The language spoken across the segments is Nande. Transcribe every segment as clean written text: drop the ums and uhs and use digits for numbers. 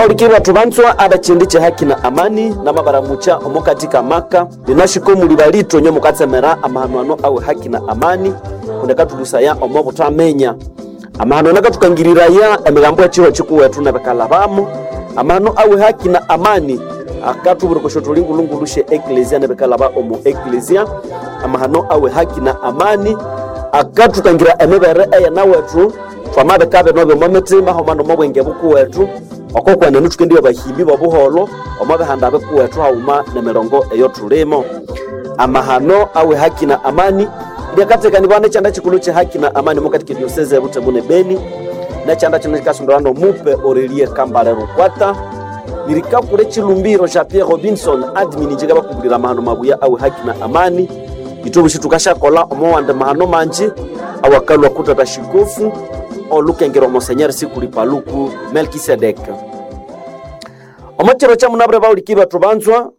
Bauliki bathu banzwa abachindi che haki na amani namabaramucha omo katika maka linashiko muli balito nyo mukatsemera amahanuano awe haki na amani kundekatulusaya omo butamenya amahano nakatukangiriraya emigambo echiho chikuwetu nebekalabamo amahano awe haki na amani akatuburukosho tulingulungulushe eklesia nebekalaba omo eklesia amahano awe haki na amani akatukangira emibere eyena wetu twamabikabe nobe omo mitima homa nomo bwenge bukuwetu oko kwenene thukendiwe bahimbi bobuholo omo bihanda bikuwethu haghuma nemirongo eyo thulimo. Amahano awe haki na amani lyakatekanibwa nekyanda kikulu kye haki na amani mukatika dioseze ebutembo ne Beni, nekyanda kino kikasondolwa nomupe Aurelie Kambale Rukwata. Nirikakule chilumbiro sha Pierre Robinson admin njika amahano mabuya awe haki na amani. Itobushi tukashakola omowande mahano manji awakalwa kutata shikofu olukengera omosenyeri sikuli paluku Melkisedek. Omochero cha munabure bauliki bathu banzwa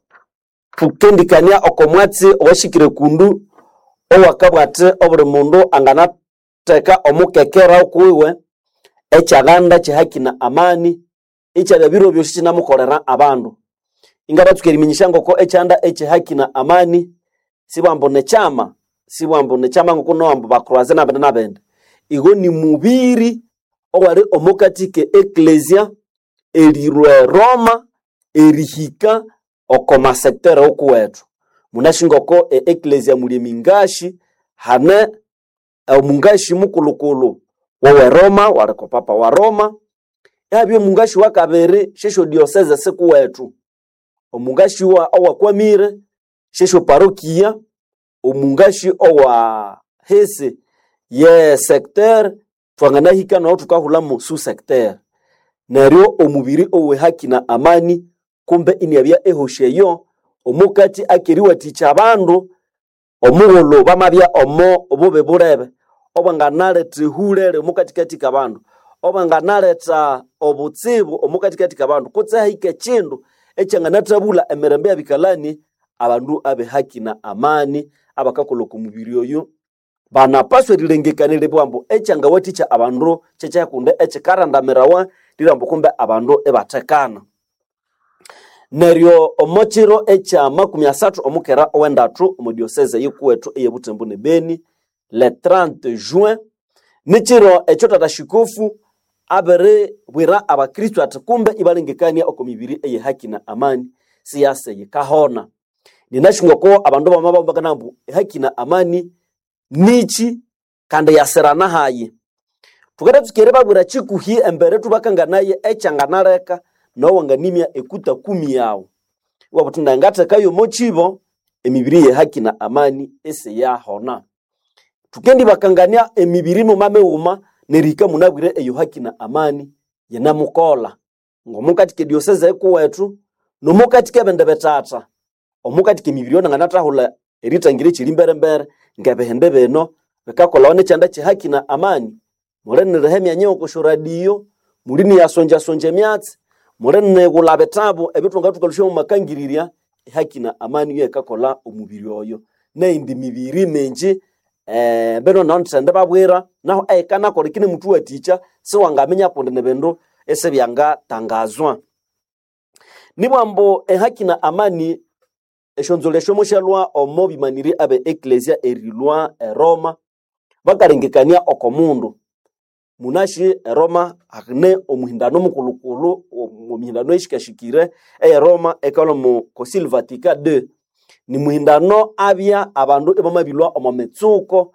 tukendikania okomwatsi owashikire kundu owakabwate obuli mundu anganatheka omukekera okuwiwe ekyaganda kyehaki na amani ekyabya biro byosi kinamukolera abandu. Ingabatsuka eriminyisya ngoko ekyanda ekyehaki na amani sibwambu nekyama, sibwambu nekyama ngoko nowambu bakroaze nabindi nabindi. Igo ni mubiri owali omukati ke eklesia erilwa eroma erihika oko masektere okuwethu. Munasi ngoko e eklesia muli emingashi hane omungashi mukulukulu wowe Roma waliko papa wa Roma, yabya omungashi wakabiri syesyo diocese sikuwethu, omungashi wa owakwamire syesyo parokia, omungashi owa hisi ye secteur twanganahika naho thukahulhamu su secteur. Neryo omubiri owe haki na amani kumbe iniabya ehoshi eyo omukati akeriwathikya abandu omughulhu bamabya omo obubi bulebe obwanganaletha ehulere omukatikati kabandu, obwanganaletha obutsibu omukatikati kabandu, kutse hahika ekindu ekyanganathabulha emirembe yabikalani abandu abe haki na amani abakakolha oko mubiri oyo banapaswa erilengekania eribugha ambu ekyangawathikya abandu kyekyakundi ekikarandamirawa lirambu kumbe abandu ibathekana. Neryo omo kiro ekya makumi asathu omukera owendathu omo diocese yikuwethu eye Butembo ne Beni le 30 juin nikiro ekyo tata shikofu abiribwira abakristo athi kumbe ibalengekania oko mibiri eye haki na amani siyase yikahona. Ninasi ngoko abandu bamabambakana ambu haki na amani nichi kandi yasirana hayi. Thukadatsuka eribabwira kikuhi embere thubakanganaye ekyanganaleka nowanganimya ekuta kumi yawu. Iwabugha wuthi nangathekayo omo kibo emibiri ye haki na amani isiyahona. Thukendibakangania emibiri muma mighuma nerihika munabwire eyo haki na amani yinamukolha. Ngomukati kedioseze ekuwethu nomukati kebindi bithatha omukati kemibiri yonanganathahulha erithangira ekyiri mbere-mbere ngebihindi bino bikakolhawa nekyanda kyehaki na amani. Muliniriha emyanya ey'okosyo radio, muliniyasonjasonja emyatsi, mulinigulha bitabu ebithungathukalhusya omu makangirirya. Ehaki na amani yekakolha omubiri oyo neyindi mibiri mingi mbino nondithendi babwira nahu eyikanakolha ikinemuthuwathikya siwangaminya kundi nibindu isibyangatangazwa. Nibugha ambu ehaki na amani esyonzolho esyo musyalhwa omo bimaniri abe eklesia erilhwa eroma bakalengekania oko mundu. Munasi eroma hane omuhindano mukulhukulhu omumihindano eyishikashikire eye Roma eyikalhwa omu Concile Vatican II. Nimuhindano abya abandu ibamabilhwa omo mitsuko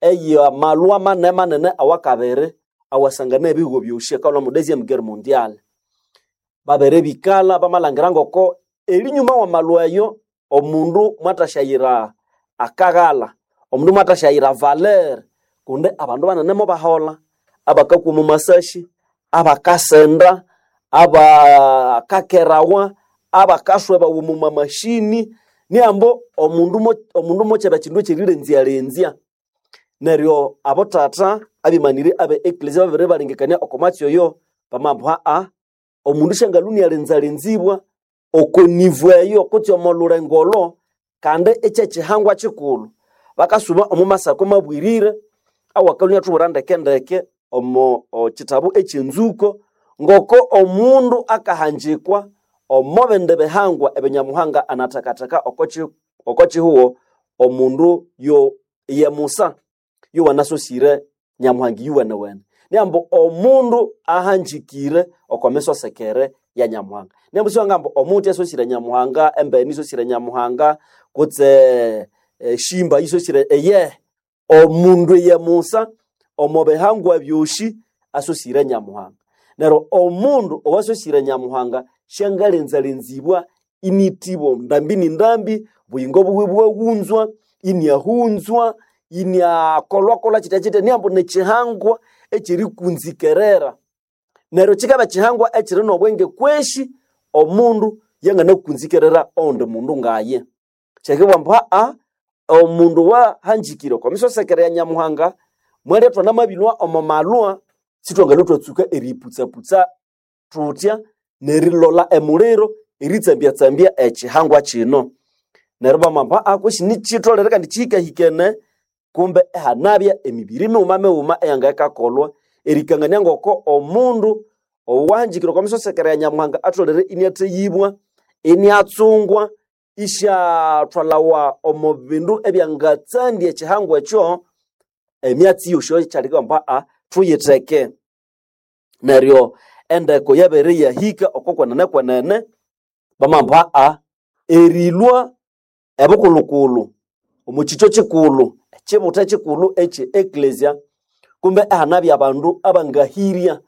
eyamalhwa manene manene awakabiri awasangana ebihugho byosi ekalhwa omu deuxième guerre mondiale. Babiribikalha bamalhangira ngoko erinyuma wamalhwa eyo omundu mwathasyayira akaghalha, omundu mwathasyayira valeur kundi abandu banene mobaholha abakakwa omo masashi, abakasenda, abakakerawa, abakaswebawa omu mamashini niambo omundu mokyaba kyindu ekyerilenzya-lenzya. Neryo abothatha abimaniri abe eklesia babiribalengekania oko mwatsi oyo bamabugha aa omundu syangalhwa inalenzalenzibwa oko nivo eyo kutse omo lhulengo olho kandi ikyekyihangwa kyikulhu. Bakasuba omo masako mabwirire awakalhwa inyathubwira ndeke-ndeke omo kyitabu ekyenzuko Ngoko omundu akahanjikwa omo bindi bihangwa ebyo Nyamuhanga anathakathaka oko kihugo, omundu yo ye Musa yowanasosire Nyamuhanga iyuwenewene. Niambu omundu ahanjikire oko misosekere ya Nyamuhanga. Niambu siwangamba omuti asosire Nyamuhanga, embeni isosire Nyamuhanga, kutse eshimba isosire eye. Omundu ye Musa omo bihangwa byosi asosire Nyamuhanga. Neryo omundu owasosire Nyamuhanga syangalenzalenzibwa initibwa ndambi ni ndambi, buyingo buwe bwahunzwa, iniahunzwa, iniakolwakolwa kitya kitya, niambu nikihangwa ekyerikunzikerera. Neryo kikaba kihangwa ekiri n'obwenge kweshi omundu yanganakunzikerera owundi mundu ngaye. Kyekibugha ambu haa omundu wahanjikire oko misosekere ya Nyamuhanga mwalya thwanamabilhwa omo malhwa sithwangalhwa thwatsuka eriyiputsaputsa thuthya nerilolha emuliro eritsambyatsambyia ekihangwa kino. Neryo bamamba haa kwesi nikyitholere kandi kihikahikene kumbe ihanabya emibiri mighuma mighuma eyangayikakolhwa erikangania ngoko omundu owahanjikire oko misosekere ya Nyamuhanga atholere iniatheyibwa, iniatsungwa, isyathwalawa omo bindu ebyangatsandya ekihangwa ekyo, emyatsi yosi ekyaleka ambu haa thuyitheke. Neryo endeko yabere yahika oko kwenene kwenene bamamba haa erilhwa ebukulhukulhu omo kikyo kikulhu ekibutha kikulhu ekye eklezia kumbe ihanabya abandu abangahirya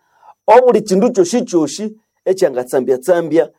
obuli kindu kyosikyosi ekyangatsambyatsambya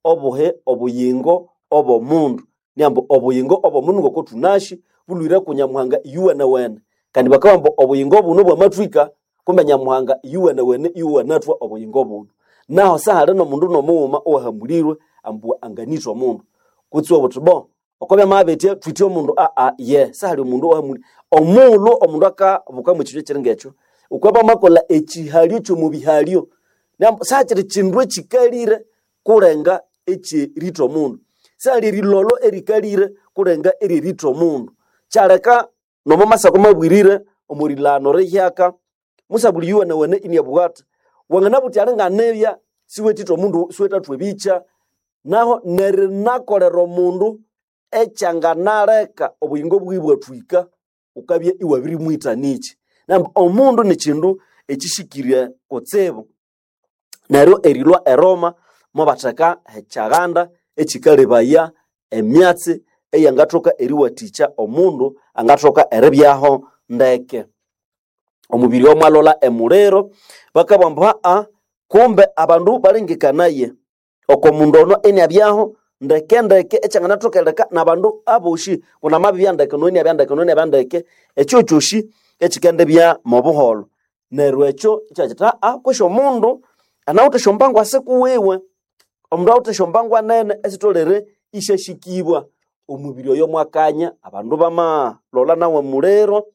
obuhe obuyingo obw'omundu. Niambu obuyingo obw'omundu ngoko thunasi bulhwire ku Nyamuhanga iyuwenewene. Kandi bakabugha ambu obuyingo buno bwamathwika kumbe Nyamuhanga iyuwenewene iyuwanathwa obuyingo buno. Naho sahali n'omundu n'omughuma owahamulirwe ambu anganitha omundu. Kutse obuthi bo oko byamabya thwithe omundu aa ye sahali omundu owahamulirwe. Omughulhu omundu akabuka mw'ekindu ekiri ng'ekyo, wukabya wamakolha ekihalyo ky'omubihalyo. Niambu sahakiri kindu ekikalire kulenga ekyeritha omundu. Sahali erilolho erikalire kulenga eryeritha omundu. Kyaleka nomo masako mabwirire omo rilhano rihyaka musabuli iyuwenewene iniabugha athi wanganabugha wuthi alinganibya siwethitha omundu siwethathwa ebikya naho nerinakolera omundu ekyanganaleka obuyingo bwiwe ibwathwika wukabya iwabirimwitha nikyi. Neryo omundu nikindu ekihikire kutsibu. Neryo erilhwa e Roma mobatheka ekyaghanda ekikalebaya emyatsi eyangathoka eriwathikya omundu angathoka eribyaho ndeke. Omubiri oyo mwalolha emuliro bakabugha ambu haa kumbe abandu balengekanaye oko mundu ono iniabyaho ndeke ndeke ekyanganathoka erileka nabandu abosi kundi amabibya ndeke noyo iniabya ndeke noyo iniabya ndeke ekyo kyosi ekikendibya mobuholho. Neryo ekyo ikyakyithi haa kwesi omundu anawithe esyombangu asikuwiwe, omundu awithe esyombangu nene esitholere isyasikibwa. Omubiri oyo mwakanya abandu bamalolha nawu emuliro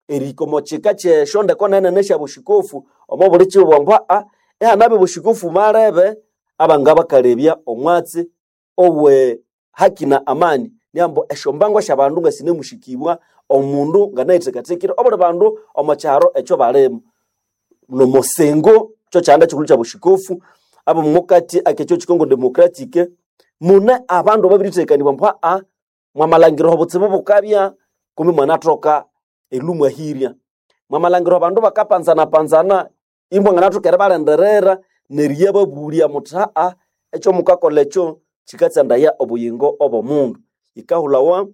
erihika omo kika kyesyondeko nene nesyabushikofu omo buli kibugho ambu haa ihanabya obushikofu malebe abangabakalebya omwatsi owe haki na amani. Niambu esyombangu esyabandu ngasinemusikibwa omundu nganayithekathekire obuli bandu omo kyaro ekyo balimu. Nomusingo kyokyanda kikulhu kyabushikofu abomukati akekyo Congo Democratic mune abandu ababirithekanibwa ambu haa mwamalhangira obutsibu bukabya kumbe mwanathoka erilhwa imwahirya. Mwamalhangira abandu bakapanzanapanzana imwanganathoka eribalindirira neriyababulya muthi haa ekyomukakolha ekyo kikatsandaya obuyingo obw'omundu. Yikahulhawa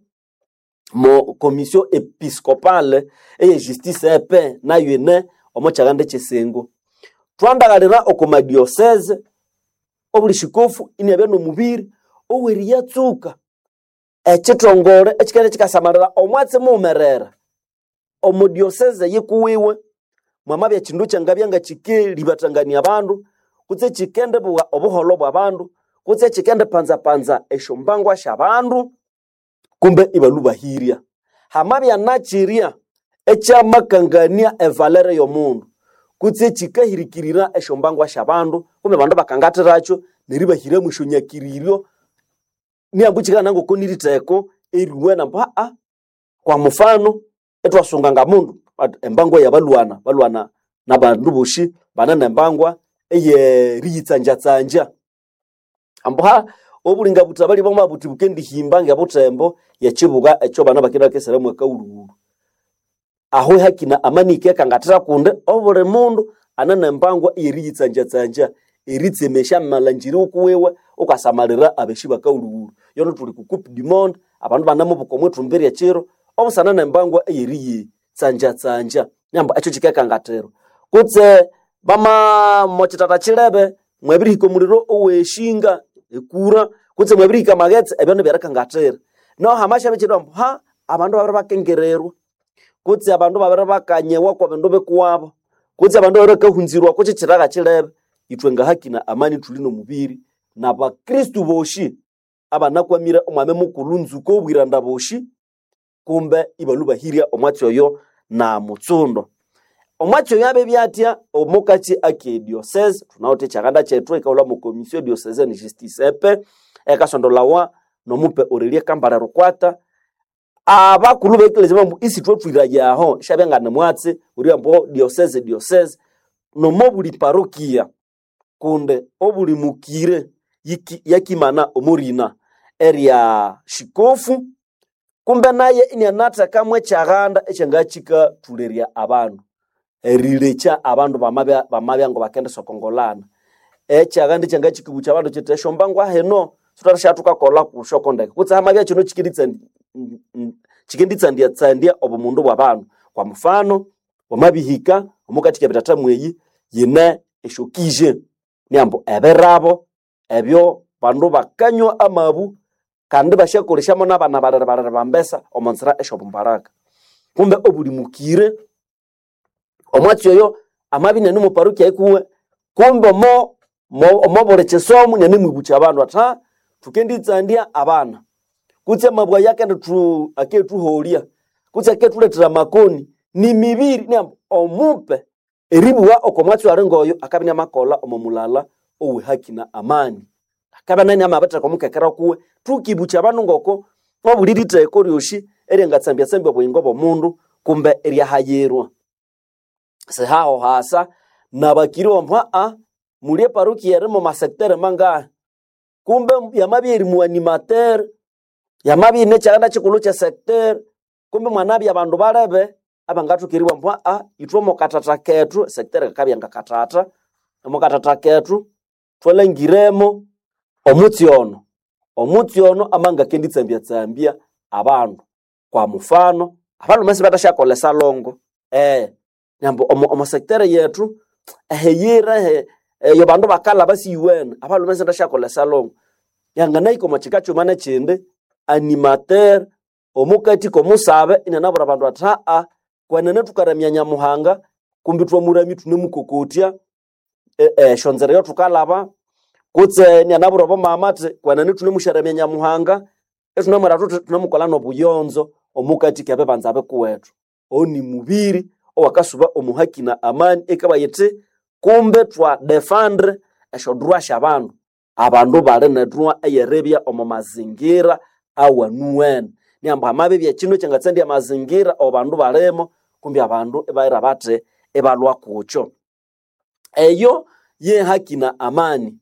mo commission episcopale eye justice e paix nayo ine omo kyaghanda ekyesengo. Thwandaghalira oko madiocese obuli shikofu iniabya n'omubiri oweriyatsuka ekithongole ekikende kikasamalira omwatsi mughumerere omo diocese yikuwiwe mwamabya ekindu kyangabya ngakikeribathangania abandu kutse ekikendibugha obuholho bw'abandu kutse ekikendipanzapanza esyombangwa syabandu kumbe ibalhwa ibahirya. Hamabya nakyirya ekyamakangania evalere y'omundu kutse ekikahirikirira esyombangwa syabandu kumbe abandu bakangathirakyo neribahiramu esyonyakiriryo niambu kikabana ngoko niritheko eriwene ambu haa kwa mufano ithwasunga ngamundu embangwa yabalwana balwana nabandu bosi banene embangwa. eyeriyitsanjatsanja ambuha obulinga butabali bwamabuthi bukendihimba ngebutembo yekibuga ekyo bana bakenda bakeseramu akaghulhughulhu. Aho haki na amani ikekangathira kundi obuli mundu anane embangwa eyeriyitsanjatsanja eritsemesya amalangiri wukuwiwe wukasamalira abeshi bakaghulhughulhu. Yono thuli ku coupe du monde abandu banamubuka omwithumbi ryekiro obusana nembangwa eyeriyitsanjatsanja niyamba ekyo kikekangathira. Kutse bama mokyitata kyilebe mwabirihika omuliro oweshinga ekura kutse mwabirihika amaghetse ebyo nibyerikangathira. Naho hamasyabya ekyiro ambu ha abandu babiribakengererwa kutse abandu babiribakanyewa kwa bindu bikuwabo kutse abandu babiribakahunzirwa kukyikyiraga kyilebe. Ithwe nga haki na amani thuli nomubiri nabakristu boshi abanakwamire omwami mukulhu nzuko obwiranda boshi kumbe ibalhubahirya omwatsi oyo na mutsundo. Omwatsi oyo abebya atya omukatsi ake diocese thunawithe ekyakanda kyethu ekahulha mo commission diocesaine justice epe ekasondolawa nomupe Aurelie Kambale Rukwata. Abakulhu bekelezia bambu isithwathwirayaho syabya ngane mwatsi ori ambu diocese diocese nomobuli parokia kundi obuli mukire yakimana omorina erya shikofu kumbe naye inianathekamu ekyaghanda ekyangakikathulerya abandu erilekya abandu bamabya bamabya ngabakendisokongolana. Ekyaghanda ekyangakikibukya abandu kyithi esyombangwa hino sithwathasyathukakolha kusyoko ndeke kutse hamabya kino kyikenditsandyatsandya obumundu bwabandu. Kwa mufano wamabihika omukati kebithatha mweyi yine esyokije niyambu ebirabo ebyo bandu bakanywa amabu kandi basyakolesyamo nabana balere balere bambesa omonzira esyobumbaraka. Kumbe obuli mukire omwatsi oyo amabya inane omuparokia ikuwe kumbe omo omobuli kyisomo inanemwibukya abandu athi ha thukenditsandya abana kutse amabwa aya akethuholya kutse akethulethera amakoni nimibiri niyamba omupe eribugha oko mwatsi ali ngoyo akabya inamakolha omo mulala owe haki na amani. Akabya nayo inamabitheka omukekera kuwe thukibukya abandu ngoko obuli ritheko ryosi eryangatsambyatsambya obuyingo bw'omundu kumbe eryahayirwa. Sihaho hasa nabakiri bambu aa muli eparokia eri momasektere mangahi kumbe yamabya eri muanimateur yamabya ine ekyalanda kyikulhu kyesectere kumbe mwanabya abandu balebe abangathoka eribugha ambu aa ithwe omwakathatha kethu esectere kakabya ngakathatha omwakathatha kethu thwalhangiremo omutsi ono. Omutsi ono amangakenditsambyatsambya abandu. Kwa mufano abalhume sibathasykolha esalongo nambu omo sectere yethu ehiyira eyo bandu bakalhaba siyuwene abalhume sibathasykolha esalongo. Yanganahika omo kika kyuma nekyindi animateur omukati komusabe inanabwira abandu athi aa kwenene thukaramya Nyamuhanga kumbi thwamuramya ithunemukokotya esyonzira eyathukalhaba kutse inanabwira abamama athi kwenene thunemusyaramya Nyamuhanga ithunamwira thuthi thunemukolha nobuyonzo omukati kebibanza bikuwethu. Oyo nimubiri owakasuba omu haki na amani ekabugha yithi kumbe thwa defendre esyodroit syabandu. Abandu bali nedroit eyeribya omo mazingira awanuwene. Niyamba hamabya ekyindu ekyangatsandya amazingira abandu balimo kumbi abandu ibayira bathi ibalhwa kukyo. Eyo ye haki na amani.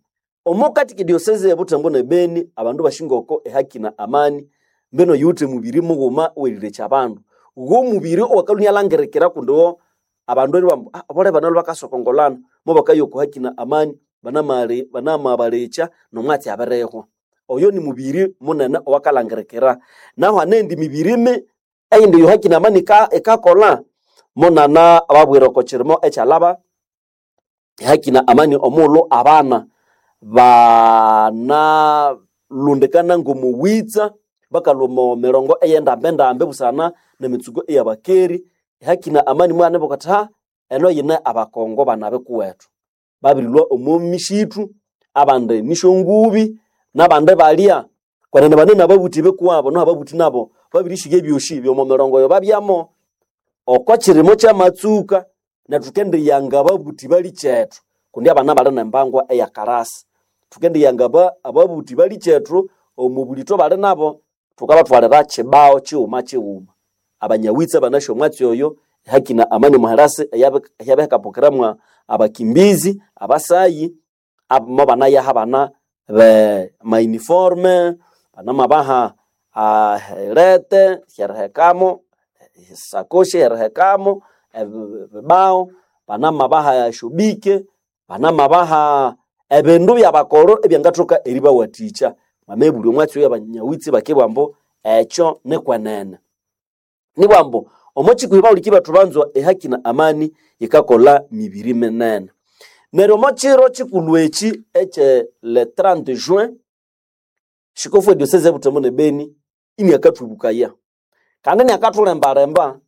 Omukati kedioseze ebutembo ne Beni abandu bashingoko ehaki na amani mbeno yuwithe mubiri mughuma owerilekya abandu. Gho mubiri owakalhwa inalhangirikira kundi wo abandu eribugha ambu bole bano bakasokongolana mubakaya oko haki na amani banamabalekya nomwatsi abirihwa. Oyo nimubiri munene owakalhangirikira. Nahu hanendi mibiri eyindi eyo haki na amani ikakolha munana babwira oko kirimo ekyalhaba ehaki na amani omughulhu abana banalundikana ngomuwitsa bakalhwa omo mirongo eyendambendambe busana nemitsuko eyabakeri. Ehaki na amani mwandibuka athi ha eno yine abakongo bana bikuwethu babirilhwa omo misithu abandi nisyongubi nabandi balya kwenene bane nababuthi bikuwabo noho ababuthi nabo babirishigha ebyosi byomo mirongo eyo babyamo. Oko kirimo kyamatsuka nethu thukendiyanga ababuthi balikyethu kundi abana bali nembangwa eyakarasi. Thukendiyanga ababuthi balikyethu omo bulitho bali nabo thukabathwalira kibao kighuma kighuma. Abanyawitsa banasi omwatsi oyo ehaki na amani omuherasi eyabihekapokeramu Abakimbizi abasayi mo banayaha abana be mauniforme, banamabaha herete syerihekamo, sakoshi erihekamo, ebibao, banamabaha esyobike, banamabaha ebindu byabakoro ebyangathoka eribawathikya. Mwamabulya omwatsi oyo abanyawitsi bakibugha ambu ekyo nikwenene. Nibugha ambu omo kikuhi bahuliki bethu banzwa ehaki na amani yikakolha mibiri minene. Neryo omo kiro kikulhu eki ekye le 30 juin, shikofu ediosese ebutembo ne Beni iniakathubukaya kandi iniakathulembalemba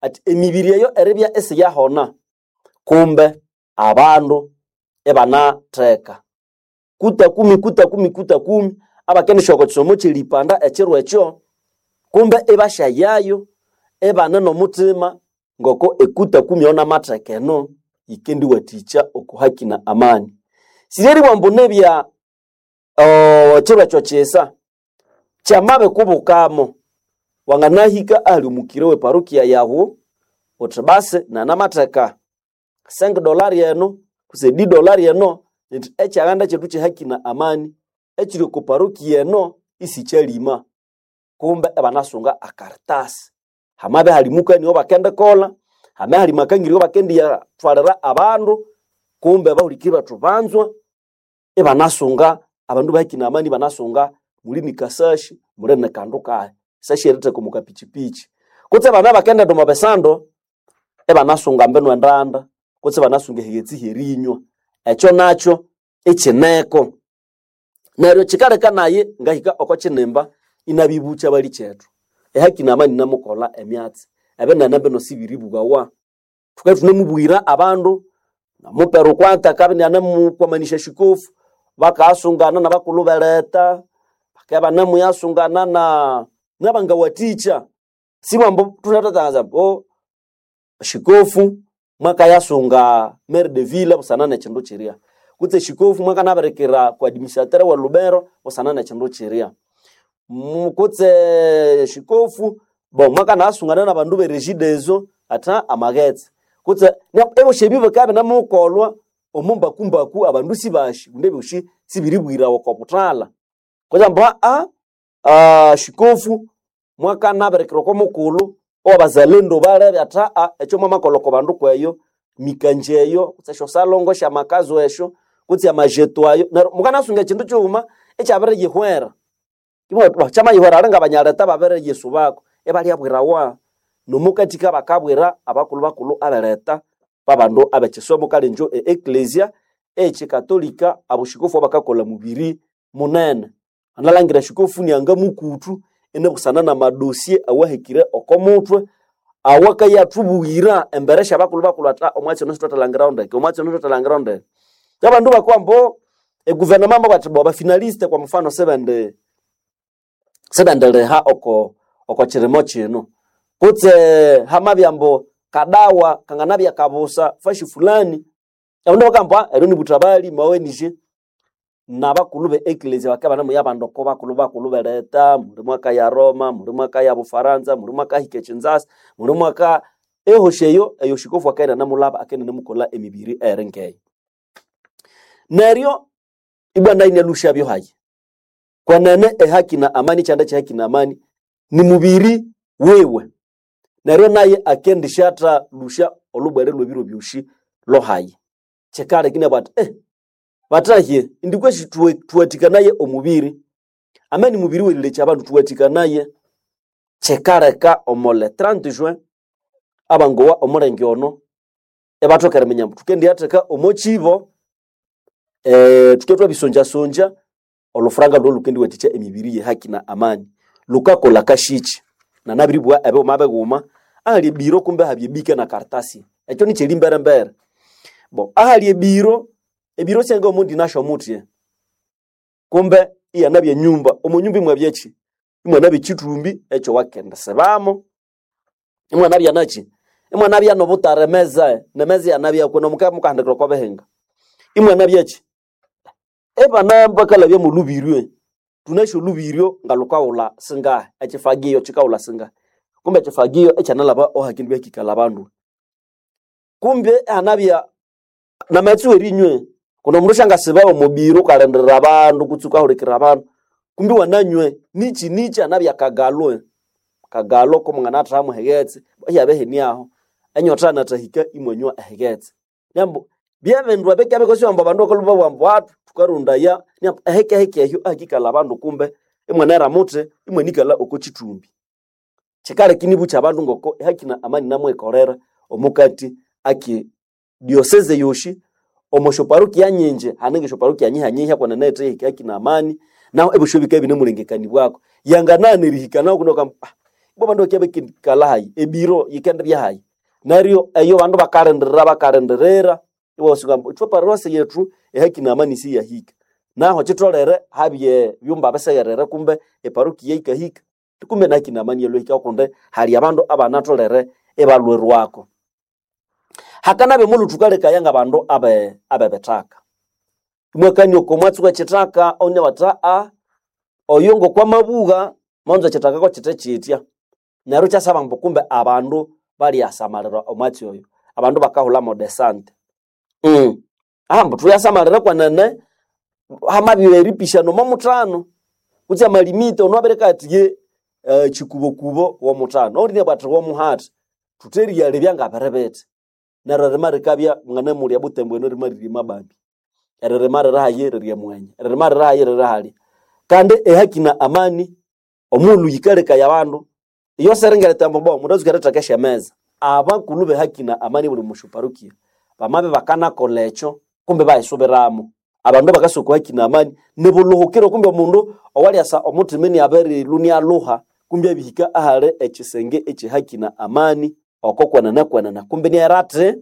ati emibiri eyo eribya isiyahona kumbe abandu ibanatheka kuta kumi kuta kumi kuta kumi abakendisya oko kisomo kyeripanda ekiro ekyo kumbe ibasyayayo ibane n'omutima ngoko ekuta kumi eyo namatheka eno yikendiwathikya oko haki na amani. Siryeribugha ambu nibya ekiro ekyo kisa kyamabikubukamo wanganahika ahali omukira we parokia yawu uthi basi nanamatheka $5 eno kutse $10 eno nti ekyaghanda kyethu kyehaki na amani ekiri oko parokia eno isikyalima. Kumbe ibanasunga akaritasi. Hamabya hali mukani owabakendikolha, hamabya hali makangiri owabakendiyathwalira abandu, kumbe bahulikiri bethu banzwa ibanasunga abandu bahaki na amani ibanasunga muli ni kasashi muli ni kandu kahi sashi eritheka omu kapichipichi. Kutse abana bakendighenda omo bisando ibanasunga mbinu endanda kutse ibanasunga ehighetse hyerinywa. Ekyo nakyo ikyineko. Neryo kyikaleka nayi ngahika oko kyinimba inabibukya balikyethu. Ehaki na amani inamukolha emyatsi. Ebinene bino sibiribughawa. Thukabya ithunemubwira abandu namupera okwanta akabya inianemukwamanisya shikofu, bakasungana nabakulhu beletha, bakabya ibanemuyasungana nabangawathikya. Sibugha ambu thunathathangaza ambu shikofu mwakayasunga maire de ville busana nekindu kirya kutse shikofu mwakanabirikira kwa administrateur we Lubero busana nekindu kirya, kutse shikofu bo mwakanasungana nabandu be Regideso atha amaghetse kutse ebyosi ebi bikabya binamukolwa omo mbakumbaku abandu sibasi kundi ebyosi sibiribwirawa oko buthalha. Kutse ambu shikofu mwakanabirikira oko mukulhu owabazalendo balebe athi ekyo mwamakolha oko bandu kweyo mikanje eyo kutse esyosalongo esyamakazo esyo kutse amajeto ayo neryo mukanasunga ekindu kighuma ekyabiriyihwera. Kyamayihwera alinga abanyaleta babiriyisubako ibalyabwirawa nomukathika bakabwira abakulhu bakulhu abeletha babandu abekisomo kale injo e ecclesia ekyikatolika aboshikofu abakakolha mubiri munene. Analangira shikofu niangamukuthu inabusana namadossier awahekire oko muthwe awakayathubuyira embere syabakulhu bakulhu athi omwatsi ono sithwathalangirawo ndeke, omwatsi ono sithwathalangirawo ndeke. Abandu bakabugha ambu eguvernema yamabugha athi bo abafinaliste kwa mfano sibendi sibendiliha oko oko kirimo kino kutse hamabya ambu kadawa kanganabya kabusa fashi fulani abandu bakabugha ambu eryo nibuthabali mawenije nabakulhu be ecclesia bakabya ibanemuya abandu oko bakulhu bakulhu beletha muli mwakaya Roma, muli mwakaya Bufaransa, muli mwakahika ekinzasa, muli mwaka ehosi eyo eyo shikofu akaghenda inamulhaba akaghenda inamukolha emibiri eyiri ngeyo. Neryo ibwa nayo inalhusyabyo hayi. Kwenene ehaki na amani ekyanda kyehaki na amani ni mubiri wiwe. Neryo naye akendishatha lusya olhubwere lwebiro byosi lhohayi. Kyikaleka inabugha athi bathahye indi kwesi thuwathikanaye omubiri ameni mubiri werilekya abandu thuwathikanaye. Kyikaleka omo le 30 juin abangowa omulenge ono ibathoka eriminya ambu thukendiyatheka omo kibo thukendibya thwabisonjasonja olhufuranga lholhukendiwathikya emibiri yehaki na amani. Lukakolha kashikyi nanabiribugha ebighuma bighuma ahali ebiro kumbe habya ebike na karitasi ekyo nikyeri-mberembere. Bo ahali ebiro, ebiro syanga omundi nasyo muthya kumbe iyanabya enyumba, omo nyumba imwabya kyi? Imwanabya ekyithumbi ekyowakendisibamo, imwanabya nakyi? Imwanabya nobutara emeza, nemeza iyanabyaku nomukabya mukahandikira oko bihinga. Imwanabya kyi? Ibana bakalhabya molhubiryo, thunasi olhubiryo ngalhukaghulha singahi, ekyifagio kyikaghulha singahi. Kumbe ekyifagio ekyanalhaba ohakindu hakikalha abandu. Kumbe ihanabya Namaghetse w'erinywe kuno omundu syangasiba omubiri ukalindirira abandu kutse ukahulikirira abandu kumbi wananywe nichi nichi anabya kagalwe kagalo ko mwanganathahamu ehighetse ihyabya hiniaho enyotha yanathahika imwanywa ehighetse. Neru byebindu ebikabya ambu abandu bakalhwa babugha ambu thukarondaya neryo ehikehike ehyo ahakikalha abandu kumbe imwanera muthi imwanikalha oko kithumbi. Kyikaleka inibukya abandu ngoko ehaki na amani inamwikolera omukati aki diocese yosi omo syoparokia nyingi hane ngesyoparokia nyiha-nyiha kwenene eyithe haki na amani naho ebyosi bikabya ibinemulengekanibwako. Yanganaghana erihika naho kundi bakagamba ibwa abandu bakibya bakikalha hayi ebiro yikendibya hayi. Neryo eyo abandu bakalindirira bakalindirira iwasuka ambu ithwe parosi yethu ehaki na amani siyahika. Naho kyitholere habye byumba bisegherere kumbe eparokia yikahika kumbe nehaki na amani yalhwahika kundi hali abandu abanatholere ibalhwerwako. Hakanabya omulhu thukalekaya ngabandu abe abebithaka. Imwakania oko mwatsi wekithaka onia bathi oyo ngokwamabugha monza ekithaka kokyithe kyitya. Neryo ikyasaba ambu kumbe abandu balyasamalira omwatsi oyo. Abandu bakahulha desante. Ambu thuyasamalira kwenene hamabya eripishana omo muthano kutse amalimite ono abireka athi ye kyikubokubo womuthano owundi inabugha athi womuhathi. Thuthi eriyalebya ngabiri bithi. Neryo eririma rikabya mwanamulya Butembo eno eririma riri Mababi, eririma riri hayi riri Emwenya, eririma riri hayi riri halya. Kandi ehaki na amani omughulhu yikalekaya abandu iyo siringereta ambu bo mundu atsuka eritheka esyameza. Abakulhu behaki na amani buli musyoparokia bamabya bakanakolha ekyo kumbe bayisubiramo. Abandu abakasa oko haki na amani nibulhuhukiro kumbe omundu owalyasa omuthima iniabirilhwa inialhuha kumbe abihika ahali ekyisenge ekyehaki na amani oko kwenene kwenene kumbe iniaghera athi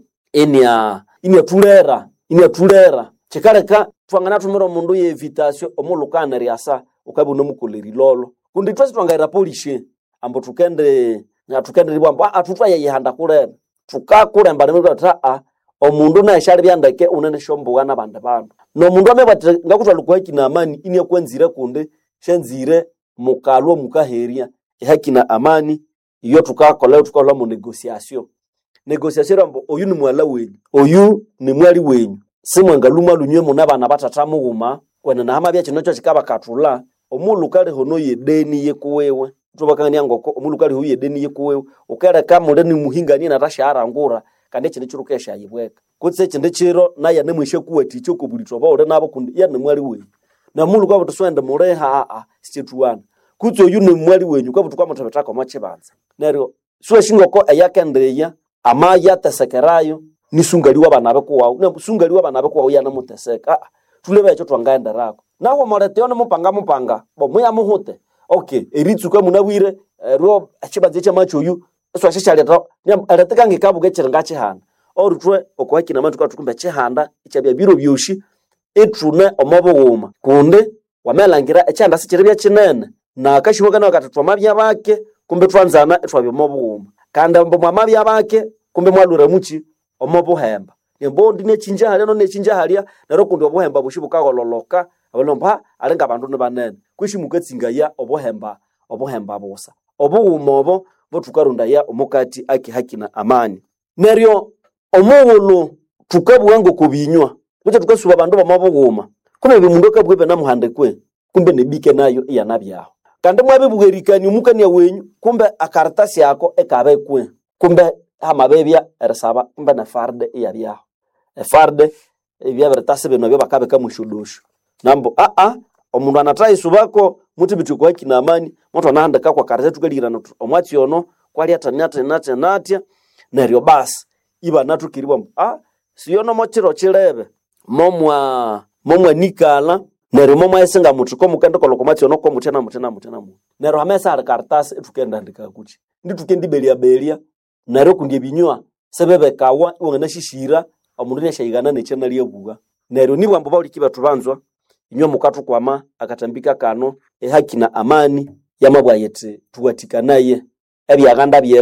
iniathulera iniathulera. Kyikaleka thwanganathumira omundu ye evitasyo omughulhu wukaghana eryasa wukabya iwunemukolha erilolho. Kundi ithwe sithwangayira polisi ambu thukendi thukendiribugha ambu thuthwayeyihanda kulebe. Thukakulemba thuthi omundu naye syalibya ndeke wunene esyombuga nabandi bandu. Nomundu amabya athi ngakuthwalha oko haki na amani iniakwanzire kundi syanzire mukalhwa mukaherya. Ehaki na amani iyo thukakolha thukakolha mo negotiation. Negotiation ambu oyu ni mughalha wenyu, oyu ni mwali wenyu. Simwangalhuma lhwa inywe mune bana bathatha mughuma kwenene hamabya kino kyokikabakathulha omughulhu wukaliha ono yedeni yikuwiwe. Ithwabakangania ngoko omughulhu wukaliha oyu yedeni yikuwiwe wukaleka muli nimuhingania inathasyaharangura kandi ekindi kiro wukayasyayibweka. Kutse ekindi kiro nayu anemwisyakuwathikya okobulithwa obawuli nabo kundi ye ni mwali wenyu. Nomughulhu wukabugha wuthi siwendi muliha sikyethughana. Kutse oyu ni mwali wenyu wukabugha wuthi wukamuthibithako omo kyibanza. Neryo siwasi ngoko eyakendiya amayatesekerayo nisungali wabana bikuwawu neryo sungali wabana bikuwawu yanamutheseka thulebe ekyo thwangaghenderako. Nahu omuletha nimupanga mupanga bo muyamuhute okay eritsuka munabwire eryo ekyibanza ekyamakyoyu isiwasyasyalhetha erithika ngikabuga ekyiri ngakyihanda. Neryo ithwe oko haki na amani thukabugha thuthi kumbe ekyihanda ikyabya biro byosi ithune omo bughuma kundi wamalhangira ekyihanda sikyiribya kyinene nakasyoho kanabu kathi thwamabya bake kumbe ithwanzana ithwabya omo bughuma. Kandi ambu mwamabya bake kumbe imwalhwira mukyi omo buhemba. Neryo ondi inakyingya halya nondi inakyingya halya neryo kundi obuhemba bwosi bukagholholhoka abandu ibabugha ambu ali ngabandu nibanene kwesi mukatsingaya obuhemba obuhemba busa. Obughuma obo bothukarondaya omukati ake haki na amani. Neryo omughulhu thukabugha ngoko binywa kutse thukasuba abandu bomo bughuma kumbe omundu akabugha ibinamuhandikwe kumbe nebike nayo iyanabyaho. Kandi mwabibugha erikania omukania wenyu kumbe akaratasi ako ikabikwe kumbe hamabibya erisaba kumbe ne farde iyabyaho. Efarde ebyabiritasi binu ebyabakabika mwesyodosyo. Nambu omundu anathayisubako muthibithe oko haki na amani muthwanahandika kwakaratasi thukalihirana thuthi omwatsi ono kwali athya nathya nathya nathya neryo basi ibanathoka eribugha ambu siyo nomo kiro kyilebe momwa momwanikalha neryo momwayisinga muthi komukendikolha oko mwatsi ono komuthya namuthya namuthya namuthya. Neryo hamabya isihali karatasi ithukendihandika kukyi ndithukendiberyaberya neryo kundi ebinywa sibibikawa iwanganasyisira omundu inasyayighana nekyanalya bugha. Neryo nibugha ambu bahuliki bethu banzwa inywe mukathukwama akathambika kano ehaki na amani yamabugha yithi thuwathikanaye ebyaghanda bye.